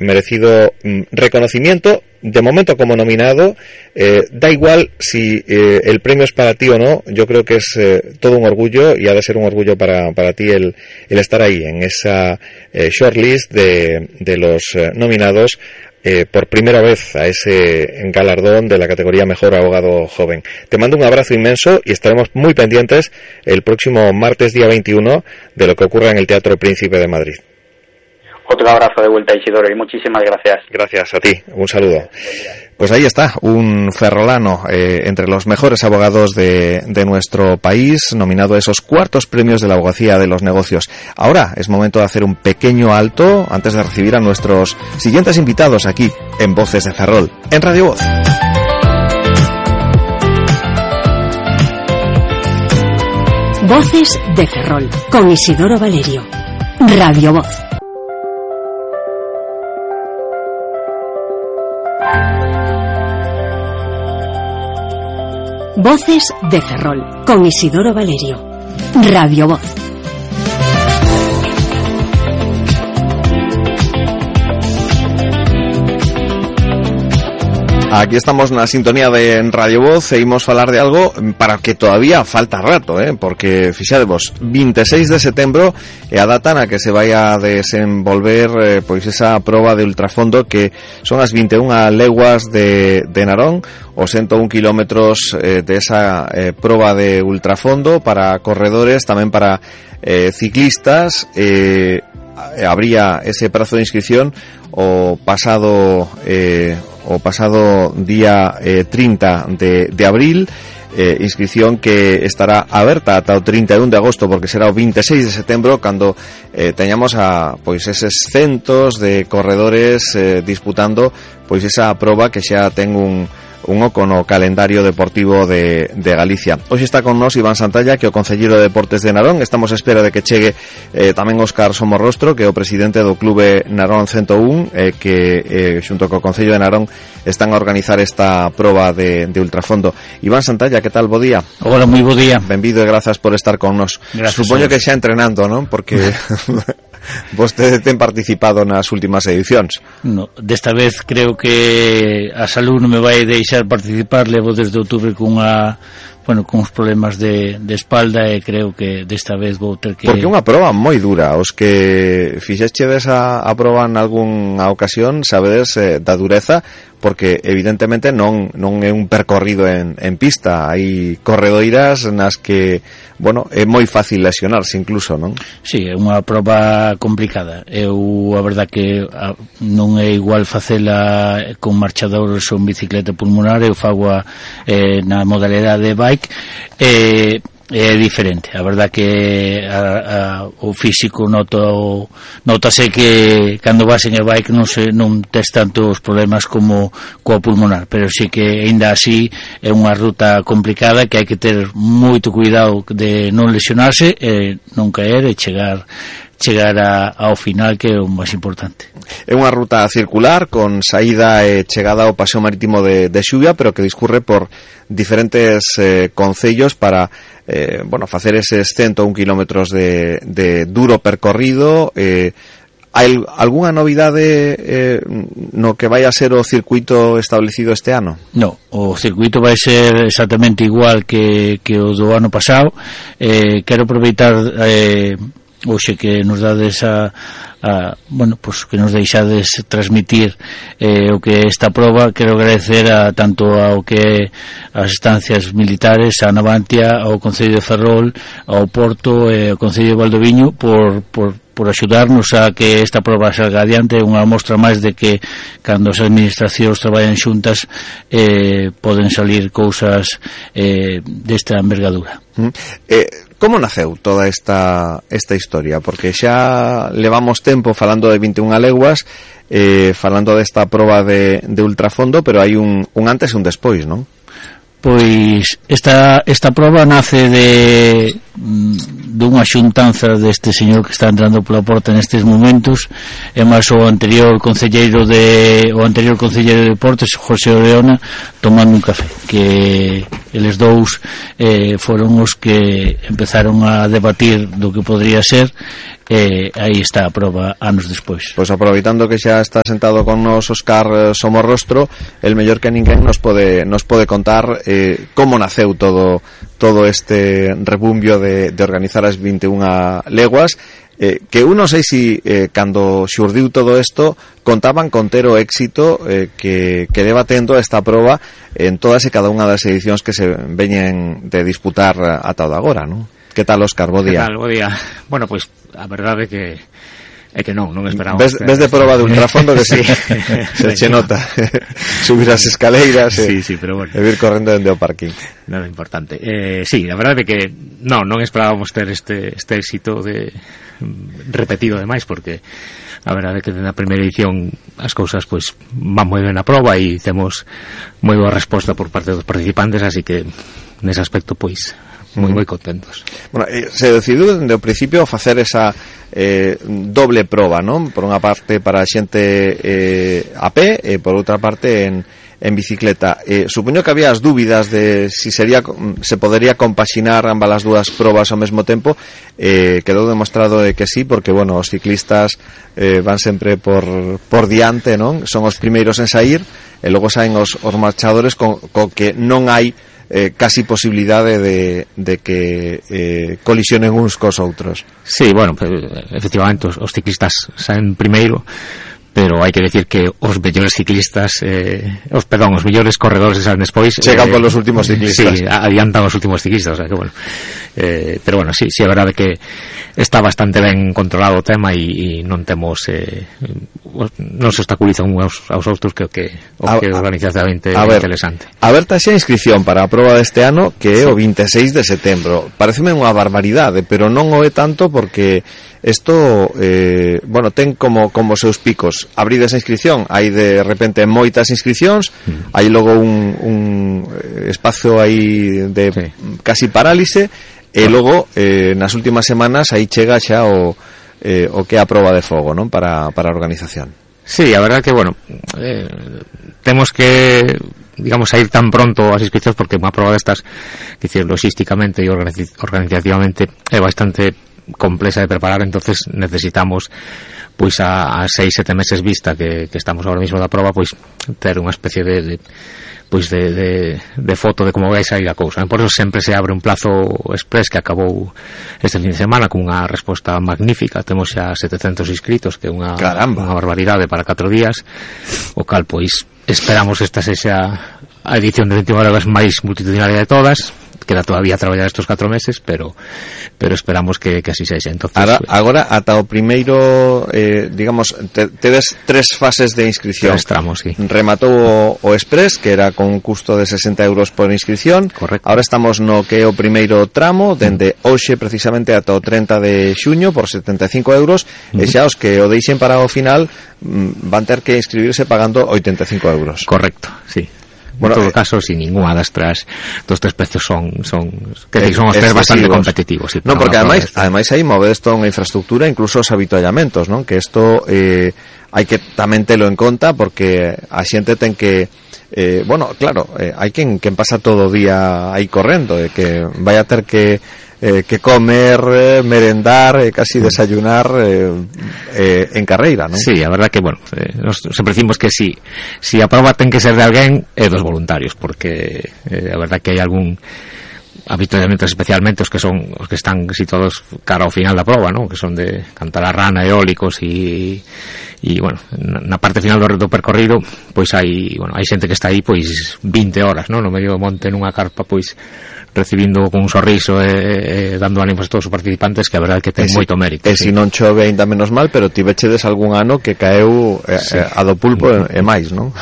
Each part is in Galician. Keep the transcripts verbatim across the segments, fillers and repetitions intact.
merecido mm, reconocimiento. De momento como nominado, eh, da igual si eh, el premio es para ti o no. Yo creo que es eh, todo un orgullo, y ha de ser un orgullo para, para ti el, el estar ahí en esa eh, shortlist de, de los eh, nominados eh, por primera vez a ese galardón de la categoría Mejor Abogado Joven. Te mando un abrazo inmenso y estaremos muy pendientes el próximo martes día veintiuno de lo que ocurra en el Teatro Príncipe de Madrid. Otro abrazo de vuelta, Isidoro, y muchísimas gracias. Gracias a ti, un saludo. Pues ahí está, un ferrolano eh, entre los mejores abogados de, de nuestro país, nominado a esos cuartos premios de la abogacía de los negocios. Ahora es momento de hacer un pequeño alto antes de recibir a nuestros siguientes invitados aquí en Voces de Ferrol, en Radio Voz. Voces de Ferrol, con Isidoro Valerio. Radio Voz. Voces de Ferrol, con Isidoro Valerio. Radio Voz. Aquí estamos na sintonía de Radio Voz e imos falar de algo para que todavía falta rato, eh? Porque, fixadevos, veintiséis de setembro é a data na que se vai a desenvolver eh, pois esa proba de ultrafondo que son as vinte e unha leguas de, de Narón, os ciento un kilómetros eh, de esa eh, proba de ultrafondo para corredores, tamén para eh, ciclistas. Eh, habría ese prazo de inscripción o pasado eh, o pasado día eh, trinta de, de abril, eh, inscripción que estará aberta ata o trinta e un de agosto, porque será o veintiséis de setembro cando eh, teñamos a pois eses centos de corredores eh, disputando pois esa proba que xa ten un un oco no calendario deportivo de, de Galicia. Hoxe está con nós Iván Santalla, que é o concelleiro de Deportes de Narón. Estamos a espera de que chegue eh, tamén Óscar Somorrostro, que é o presidente do Clube Narón ciento un, eh, que eh, xunto co Concello de Narón están a organizar esta proba de, de ultrafondo. Iván Santalla, que tal? Bo día. Hola, moi bo día. Benvido e grazas por estar con nós. Supoño que xa entrenando, non? Porque vostede ten participado nas últimas edicións. No, desta vez creo que a salud non me vai deixar participar. Levo desde outubro con unha, bueno, con uns problemas de, de espalda, e creo que desta vez vou ter que... Porque é unha proba moi dura. Os que fixechedes a, a proba en algunha ocasión sabedes eh, da dureza, porque evidentemente non non é un percorrido en, en pista. Hai corredoiras nas que, bueno, é moi fácil lesionarse incluso, non? Sí, é unha proba complicada. Eu, a verdad que a, non é igual facela con marchadores ou en bicicleta pulmonar. Eu fago a, eh, na modalidade de bike, e eh, é diferente. A verdad que a, a, o físico noto, notase que cando vas en e bike non se non tes tantos problemas como coa pulmonar, pero sí que ainda así é unha ruta complicada que hai que ter moito cuidado de non lesionarse e non caer e chegar chegar a, ao final, que é o máis importante. É unha ruta circular con saída e chegada ao paseo marítimo de, de Xuvia, pero que discurre por diferentes eh, concellos para eh, bueno, facer eses ciento un kilómetros de, de duro percorrido. eh, hai algunha novidade eh, no que vai a ser o circuito establecido este ano? No, o circuito vai ser exactamente igual que, que o do ano pasado. eh, quero aproveitar eh, hoxe que nos dades a, a bueno, pues que nos deixades transmitir eh, o que esta proba. Quero agradecer a tanto ao que as estancias militares, a Navantia, ao Concello de Ferrol, ao Porto e ao Concello de Valdoviño por, por por axudarnos a que esta proba salga adiante. É unha mostra máis de que cando as administracións traballan xuntas eh, poden salir cousas eh, desta envergadura. Mm. Eh, como naceu toda esta esta historia? Porque xa levamos tempo falando de vinte e unha leguas, eh, falando desta proba de, de ultrafondo, pero hai un, un antes e un despois, non? Pois esta esta proba nace de dunha xuntanza deste señor que está entrando pola porta nestes momentos, e máis o anterior concelleiro de o anterior concelleiro de Deportes, José Oreona, tomando un café, que eles dous eh, foron os que empezaron a debatir do que podría ser. Eh, aí está a proba anos despois. Pois aproveitando que xa está sentado con nos Óscar Somorrostro, el mellor que ninguén nos pode nos pode contar eh, como naceu todo todo este rebumbio de, de organizar as vinte e unha leguas, eh, que eu non sei si eh, cando xurdiu todo isto contaban con ter o éxito eh, que, que leva tendo esta proba en todas e cada unha das edicións que se veñen de disputar ata o de agora, non? Que tal, Óscar? Bo día. Que tal? Bo día. Bueno, pois pues, a verdade é que é que non, non esperamos. Ves, ves de proba de ultrafondo que sí. se, se che nota subir as escaleiras sí, e, sí, pero bueno. e vir correndo dende o parking. Nada importante. Eh, sí, a verdade é que non, non esperábamos ter este, este éxito de repetido demais, porque a verdade é que na primeira edición as cousas pois van moi ben a proba e temos moi boa resposta por parte dos participantes, así que nese aspecto pois moi moi contentos. Bueno, eh, se decidiu dende o principio facer esa eh, doble proba, non? Por unha parte para a xente eh, a pé e por outra parte en, en bicicleta. Eh, supoño que había as dúbidas de si sería se podería compaxinar ambas as dúas probas ao mesmo tempo. Eh, quedou demostrado de que sí, porque bueno, os ciclistas eh, van sempre por, por diante, non? Son os primeiros en sair e logo saen os, os marchadores con, con que non hai Eh, casi posibilidade de, de que eh, colisionen uns cos outros. Sí, bueno, efectivamente os, os ciclistas saen primeiro, pero hai que decir que os mellores ciclistas eh, os, perdón, os mellores corredores saen despois, chegan eh, por los últimos ciclistas. Sí, adiantan os últimos ciclistas, o sea que bueno, eh, pero bueno, sí, sí é verdade que está bastante ben controlado o tema e, e non temos eh, non se obstaculizan uns aos outros, que que o que organizativamente é interesante. Aberta xa a inscripción para a proba deste ano, que é sí. O vinte e seis de setembro. Pareceme unha barbaridade, pero non o é tanto porque isto, eh, bueno, ten como como seus picos. Abrides a inscripción, hai de repente moitas inscripcións, mm. hai logo un, un espacio aí de sí. casi parálise, e logo eh, nas últimas semanas aí chega xa o, eh, o que é a proba de fogo, non? Para, para a organización. Sí, a verdad que, bueno, eh, temos que, digamos, a ir tan pronto as inscripcións, porque unha proba destas, que decir, logísticamente e organizativamente é bastante complexa de preparar, entonces necesitamos pois a, a seis, sete meses vista que, que estamos ahora mismo da proba, pois ter unha especie de, de pois de, de, de foto de como vai sair a cousa. Por eso sempre se abre un plazo express que acabou este fin de semana con unha resposta magnífica. Temos xa setecentos inscritos, que é unha, unha barbaridade para catro días, o cal pois esperamos esta sexa a edición de vinte e unha horas máis multitudinaria de todas. Queda todavía a traballar estos catro meses, pero pero esperamos que, que así sexa. Entonces, Ahora, pues, agora ata o primeiro, eh, digamos, te, tedes tres fases de inscripción. Tres tramos, sí. Rematou o, o Express, que era con un custo de sesenta euros por inscripción. Correcto. Ahora estamos no que é o primeiro tramo, dende mm. hoxe precisamente ata o treinta de xuño por setenta e cinco euros, mm. e xa os que o deixen para o final mm, van ter que inscribirse pagando oitenta e cinco euros. Correcto, sí. Bueno, en todo caso, sin ninguna das tres dos tres precios son son que eh, son os tres bastante competitivos, sí, non, porque ademais, ademais aí movedes toda unha infraestructura, incluso os habituallamentos, non? Que isto eh, hai que tamén telo en conta, porque a xente ten que eh, bueno, claro, eh, hai quen, quen pasa todo o día aí correndo, e eh, que vai a ter que eh, que comer, eh, merendar, eh, casi desayunar eh, eh, en carreira, non? Sí, a verdad que, bueno, eh, nos sempre decimos que si, si a prova ten que ser de alguén, é dos voluntarios, porque eh, a verdad que hai algún habitualmente, especialmente os que son os que están situados cara ao final da prova, ¿no? Que son de Cantalarrana, eólicos e e bueno, na parte final do, do percorrido, pois hai, bueno, hai xente que está aí pois vinte horas, ¿no? No medio do monte nunha carpa, pois recibindo con un sorriso e, e dando ánimos a todos os participantes, que a verdade que ten si, moito mérito. E sí. Se non chove ainda menos mal, pero tivechedes algún ano que caeu eh, sí. a do pulpo e, e máis, non?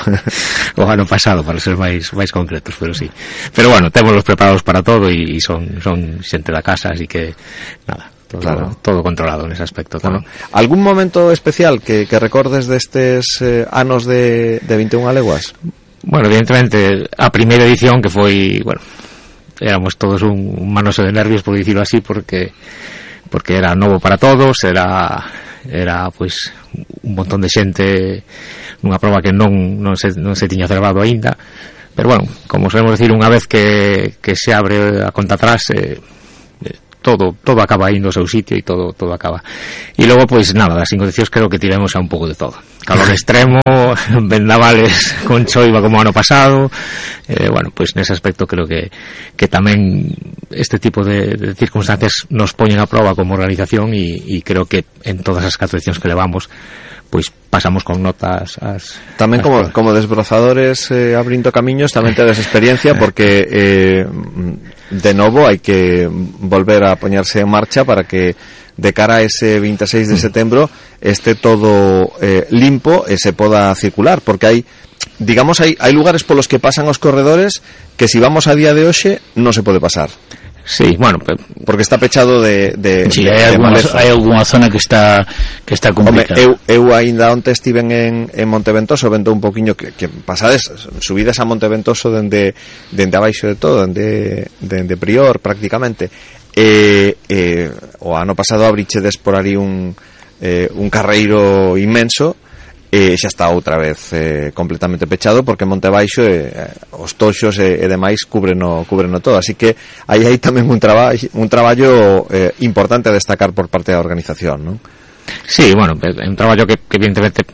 O ano pasado, para ser máis máis concretos, pero sí. Pero bueno, témolos preparados para todo e, e son son xente da casa, así que nada, todo, claro. todo controlado nese aspecto. Bueno, algún momento especial que, que recordes destes eh, anos de, de vinte e unha leguas? Bueno, evidentemente a primeira edición, que foi, bueno, éramos todos un, un manoso de nervios, por dicirlo así, porque porque era novo para todos, era era pois un montón de xente nunha proba que non non se non se tiña celebrado aínda, pero bueno, como solemos decir, unha vez que que se abre a conta atrás, eh, todo todo acaba indo ao seu sitio e todo todo acaba. E logo pois nada, das condicións creo que tivemos a un pouco de todo. Calor extremo, vendavales con choiva como ano pasado. Eh, bueno, pois nese aspecto creo que que tamén este tipo de, de circunstancias nos poñen a proba como organización e, e creo que en todas as catro edicións que levamos pois pasamos con notas as, tamén as como, todas. como desbrozadores eh, abrindo camiños tamén tedes experiencia porque eh, de novo hai que volver a poñerse en marcha para que de cara a ese veintiséis de setembro esté todo eh, limpo e se poda circular, porque hai digamos hai, hai lugares polos que pasan os corredores que si vamos a día de hoxe non se pode pasar. Sí, bueno, porque está pechado de, de, sí, de, hai, de alguna, maleza. hai alguna zona que está que está complicada. Home, eu, eu ainda onte estiven en, en Monteventoso, vendo un poquinho que, que pasades, subidas a Monteventoso dende, dende abaixo de todo, dende, dende Prior prácticamente, e, e o ano pasado abrichedes por ali un, eh, un carreiro inmenso, e xa está outra vez eh, completamente pechado porque Monte Baixo eh, os toxos e, e demais cubreno, cubreno todo, así que aí hai tamén un traballo un traballo eh, importante a destacar por parte da organización, non? Sí, bueno, é un traballo que, que evidentemente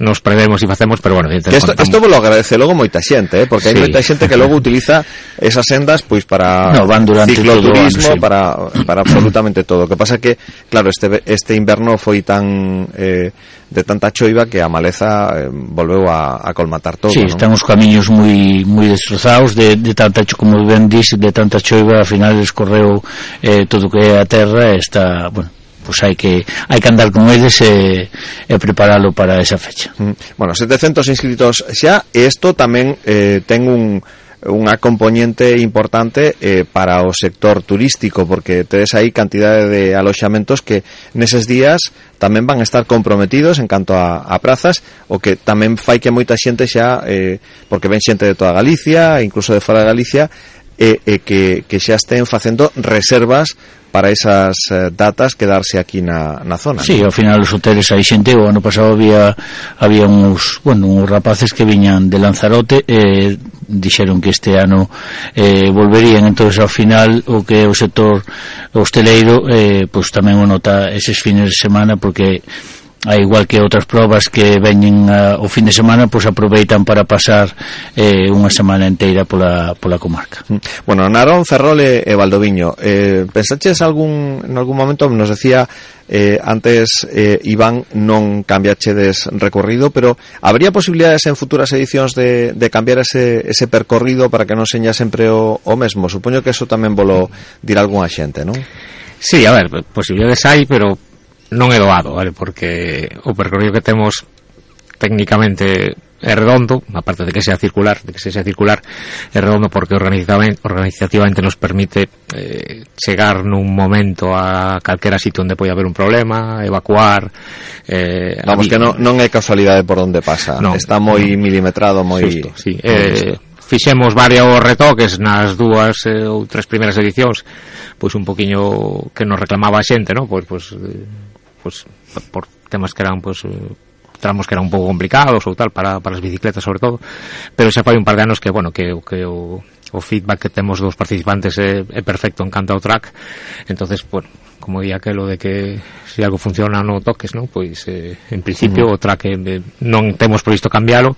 nos prevemos e facemos, pero bueno, que isto, isto vos lo agradece logo moita xente, eh, porque hai sí. moita xente que logo utiliza esas sendas pois para no, van cicloturismo, ano, sí. para, para absolutamente todo. O que pasa que, claro, este, este inverno foi tan eh, de tanta choiva que a maleza eh, volveu a, a colmatar todo. Sí, ¿no? están os camiños moi moi destrozados de, de tanta choiva, como ben dis, de tanta choiva, ao final escorreu eh, todo o que é a terra e está, bueno, pois hai que hai que andar con eles e, e preparalo para esa fecha. Bueno, setecentos inscritos xa, e isto tamén eh, ten un unha componente importante eh, para o sector turístico, porque tedes aí cantidade de aloxamentos que neses días tamén van a estar comprometidos en canto a, a prazas, o que tamén fai que moita xente xa, eh, porque ven xente de toda Galicia, incluso de fora de Galicia, e, e que, que xa estén facendo reservas para esas eh, datas quedarse aquí na, na zona. Sí, ¿no? Ao final os hoteles hai xente, o ano pasado había había uns, bueno, uns rapaces que viñan de Lanzarote e eh, dixeron que este ano eh, volverían, entonces ao final o que é o sector hosteleiro eh, pois tamén o nota eses fines de semana, porque a igual que outras probas que veñen uh, o fin de semana, pois aproveitan para pasar eh, unha semana inteira pola, pola comarca. Bueno, Narón, Ferrol e, e Valdoviño, eh, pensaches algún, en algún momento, nos decía eh, antes eh, Iván, non cambiachedes recorrido, pero habría posibilidades en futuras edicións de, de cambiar ese, ese percorrido para que non seña sempre o, o mesmo? Supoño que eso tamén volo dirá algunha xente, non? Sí, a ver, posibilidades hai, pero non é doado, vale? Porque o percorrido que temos técnicamente é redondo, aparte de que sea circular, de que sea circular, é redondo porque organizativamente, organizativamente nos permite eh, chegar nun momento a calquera sitio onde pode haber un problema, evacuar. Eh, Vamos, que non, non é casualidade por onde pasa, no, está moi no. milimetrado, moi... Justo, sí. Eh, fixemos varios retoques nas dúas eh, ou tres primeiras edicións, pois un poquiño que nos reclamaba a xente, ¿no? Pois, pois, eh, pois por temas que eran, pois, tramos que eran un pouco complicados ou tal para, para as bicicletas sobre todo, pero xa fai un par de anos que, bueno, que, que o, o feedback que temos dos participantes é, é perfecto en canto ao track, entonces, bueno, como di aquelo de que se algo funciona non toques, non? Pois eh, en principio uh-huh. o track eh, non temos previsto cambialo,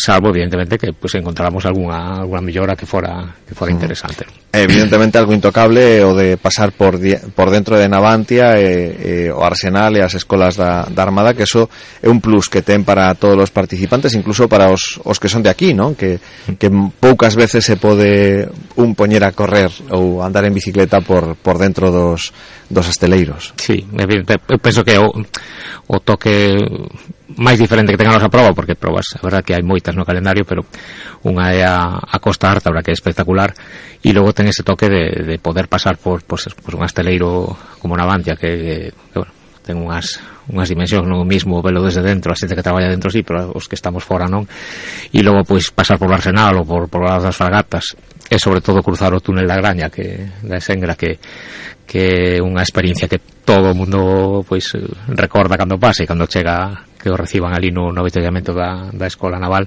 salvo evidentemente que pues encontráramos alguna alguna mellora que fora que fora interesante. Evidentemente algo intocable o de pasar por di- por dentro de Navantia e, e o Arsenal e as escolas da, da Armada, que eso é un plus que ten para todos os participantes, incluso para os, os que son de aquí, ¿no? Que, que poucas veces se pode un poñer a correr ou andar en bicicleta por, por dentro dos, dos asteleiros. Sí, evidente, eu penso que o, o toque máis diferente que tengan a proba, porque probas, a verdad que hai moitas no calendario, pero unha é a, a Costa Ártabra, que é espectacular, e logo ten ese toque de, de poder pasar por pues, pues un asteleiro como Navantia, que, que, que bueno, ten unhas, unhas dimensións, non o mismo velo desde dentro, a xente que traballa dentro sí, pero os que estamos fora non, e logo pois pasar por o Arsenal ou por, por as Fragatas, e sobre todo cruzar o túnel da Graña, que da Sengra, que que unha experiencia que todo o mundo pois recorda cando pasa e cando chega, que o reciban ali no, no avituallamento da, da Escola Naval.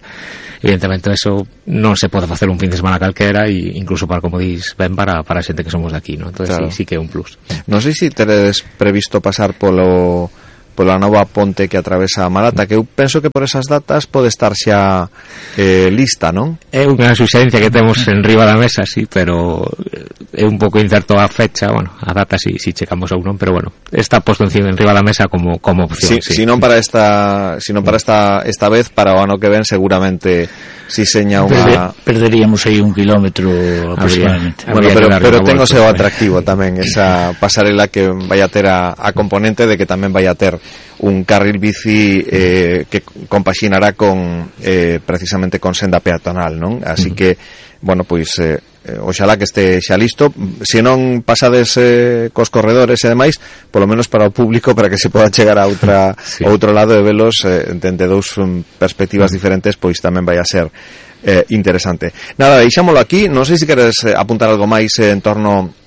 Evidentemente eso non se pode facer un fin de semana calquera, e incluso para, como dis, ben para, para a xente que somos de aquí, ¿no? Entonces claro, sí, sí que é un plus. Non sei se teredes previsto pasar polo pola nova ponte que atravesa a Malata, que eu penso que por esas datas pode estar xa eh, lista, non? É unha suxerencia que temos en riba da mesa, sí, pero é un pouco incerto a fecha, bueno, a data si, si checamos ou non, pero bueno, está posto en riba da mesa como, como opción, si, sí. Si non para esta, si non para esta, esta vez, para o ano que ven seguramente si seña unha... Perderíamos aí un kilómetro aproximadamente. Bueno, pero, pero ten o seu atractivo tamén, esa pasarela que vai a ter a, a componente de que tamén vai a ter un carril bici eh, que compaxinará con eh, precisamente con senda peatonal, non? Así uh-huh. que, bueno, pois eh, oxalá que este xa listo, se non pasades eh, cos corredores e demais, polo menos para o público, para que se poda chegar a outra sí. outro lado de velos eh, dende dous um, perspectivas uh-huh. diferentes, pois tamén vai a ser eh, interesante. Nada, deixámolo aquí, non sei se queres eh, apuntar algo máis eh, en torno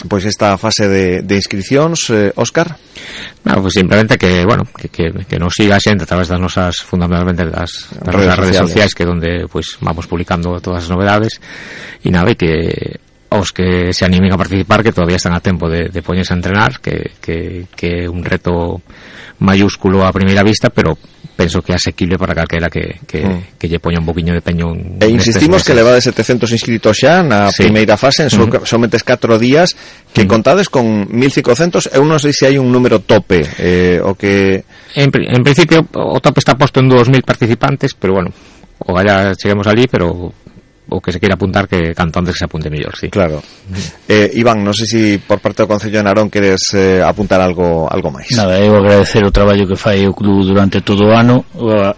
pois esta fase de, de inscripcións, eh, Óscar? No, pues simplemente que, bueno, que, que, que nos siga xente a través das nosas, fundamentalmente das, das redes, nosas redes sociais, que donde pues vamos publicando todas as novedades, e nada, e que os que se animen a participar, que todavía están a tempo de, de poñerse a entrenar, que, que, que é un reto mayúsculo a primeira vista, pero penso que é asequible para calquera que, que, mm. que lle poña un poquinho de peño en, e insistimos que levades setecentos inscritos xa na sí. primeira fase, en so, mm. somente catro días, que mm. contades con mil cincocentos. Eu non sei se hai un número tope eh, o que... En, en principio o tope está posto en dous mil participantes, pero bueno, o vaya cheguemos ali, pero o que se queira apuntar, que canto antes que se apunte mellor, sí. Claro. Eh, Iván, non sei se por parte do Concello de Narón queres eh, apuntar algo algo máis. Nada, eu agradecer o traballo que fai o club durante todo o ano,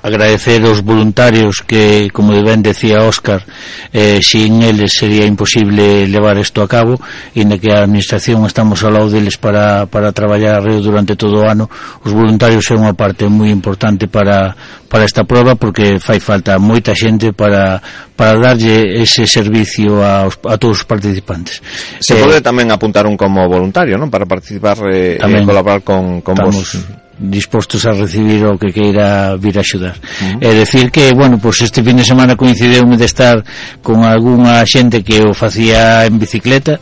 agradecer os voluntarios que, como ben decía Óscar, eh, sin eles sería imposible levar isto a cabo, e na que a administración estamos ao lado deles para, para traballar arreo durante todo o ano. Os voluntarios é unha parte moi importante para, para esta prova, porque fai falta moita xente para, para darlle ese servicio aos, a todos os participantes. Se eh, pode tamén apuntar un como voluntario, non? Para participar e eh, colaborar con, con vos. Dispostos a recibir o que queira vir a axudar. Uh-huh. É decir que, bueno, pues este fin de semana coincideume de estar con algunha xente que o facía en bicicleta,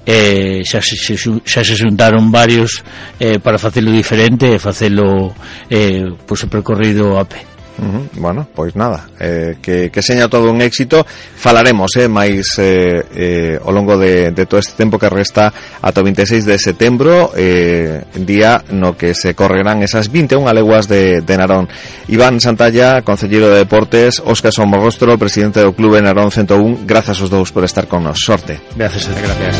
eh, xa, se, xa se xuntaron varios eh, para facelo diferente e facelo eh, pues, o percorrido a pé. Uh-huh. Bueno, pois nada, eh, que, que seña todo un éxito. Falaremos eh, máis eh, eh, ao longo de, de todo este tempo que resta ata o vinte e seis de setembro, eh, día no que se correrán esas vinte e unha leguas de, de Narón. Iván Santalla, concelleiro de Deportes, Óscar Somorrostro, presidente do Clube Narón ciento un, grazas aos dous por estar con nos. Sorte. Gracias, gracias.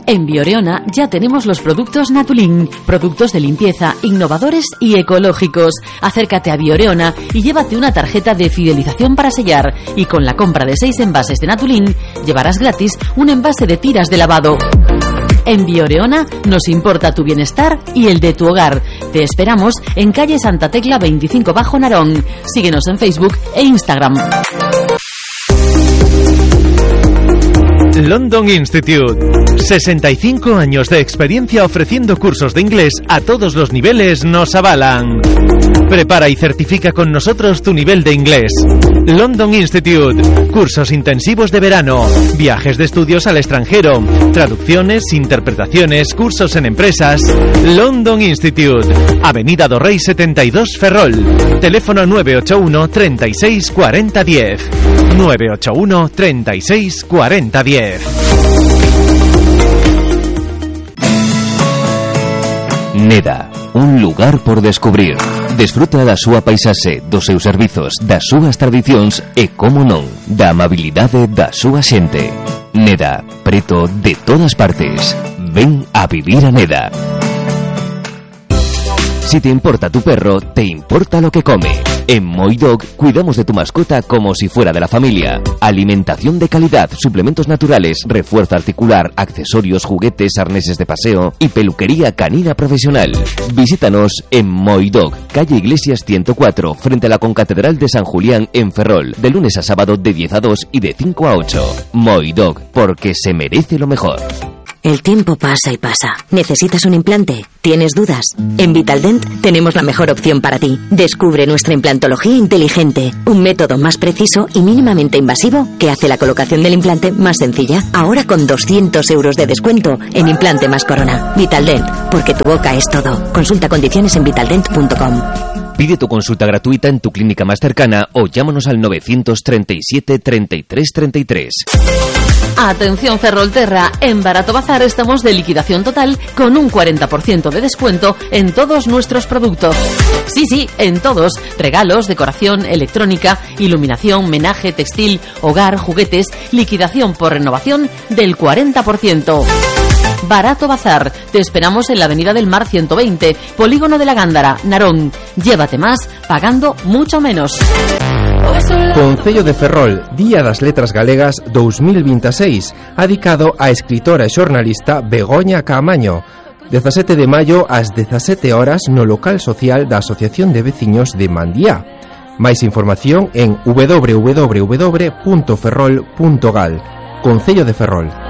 En Bioreona ya tenemos los productos Natulin, productos de limpieza, innovadores y ecológicos. Acércate a Bioreona y llévate una tarjeta de fidelización para sellar, y con la compra de seis envases de Natulin llevarás gratis un envase de tiras de lavado. En Bioreona nos importa tu bienestar y el de tu hogar. Te esperamos en calle Santa Tecla veinticinco Bajo Narón. Síguenos en Facebook e Instagram. London Institute. sesenta y cinco años de experiencia ofreciendo cursos de inglés a todos los niveles nos avalan. Prepara y certifica con nosotros tu nivel de inglés. London Institute. Cursos intensivos de verano, viajes de estudios al extranjero, traducciones, interpretaciones, cursos en empresas. London Institute. Avenida do Rey setenta y dos Ferrol. Teléfono nueve ocho uno, treinta y seis, cuarenta, diez. nueve ocho uno, treinta y seis, cuarenta, diez. Neda, un lugar por descubrir. Desfruta da súa paisaxe, dos seus servizos, das súas tradicións e, como non, da amabilidade da súa xente. Neda, preto de todas partes. Ven a vivir a Neda. Si te importa tu perro, te importa lo que come. En Moidog cuidamos de tu mascota como si fuera de la familia. Alimentación de calidad, suplementos naturales, refuerzo articular, accesorios, juguetes, arneses de paseo y peluquería canina profesional. Visítanos en Moidog, calle Iglesias ciento cuatro, frente a la Concatedral de San Julián en Ferrol, de lunes a sábado de diez a dos y de cinco a ocho. Moidog, porque se merece lo mejor. El tiempo pasa y pasa. ¿Necesitas un implante? ¿Tienes dudas? En Vitaldent tenemos la mejor opción para ti. Descubre nuestra implantología inteligente, un método más preciso y mínimamente invasivo que hace la colocación del implante más sencilla. Ahora con doscientos euros de descuento en implante más corona. Vitaldent, porque tu boca es todo. Consulta condiciones en vitaldent punto com. Pide tu consulta gratuita en tu clínica más cercana o llámanos al novecientos treinta y siete, treinta y tres, treinta y tres. Atención Ferrolterra, en Barato Bazar estamos de liquidación total con un cuarenta por ciento de descuento en todos nuestros productos. Sí, sí, en todos. Regalos, decoración, electrónica, iluminación, menaje, textil, hogar, juguetes, liquidación por renovación del cuarenta por ciento. Barato Bazar. Te esperamos en la Avenida del Mar ciento veinte, Polígono de la Gándara, Narón. Llévate más pagando mucho menos. Concello de Ferrol, Día das Letras Galegas dos mil veintiséis, dedicado á escritora e xornalista Begoña Caamaño. dezasete de maio ás dezasete horas no local social da Asociación de Veciños de Mandiá. Máis información en doble u doble u doble u punto ferrol punto gal. Concello de Ferrol.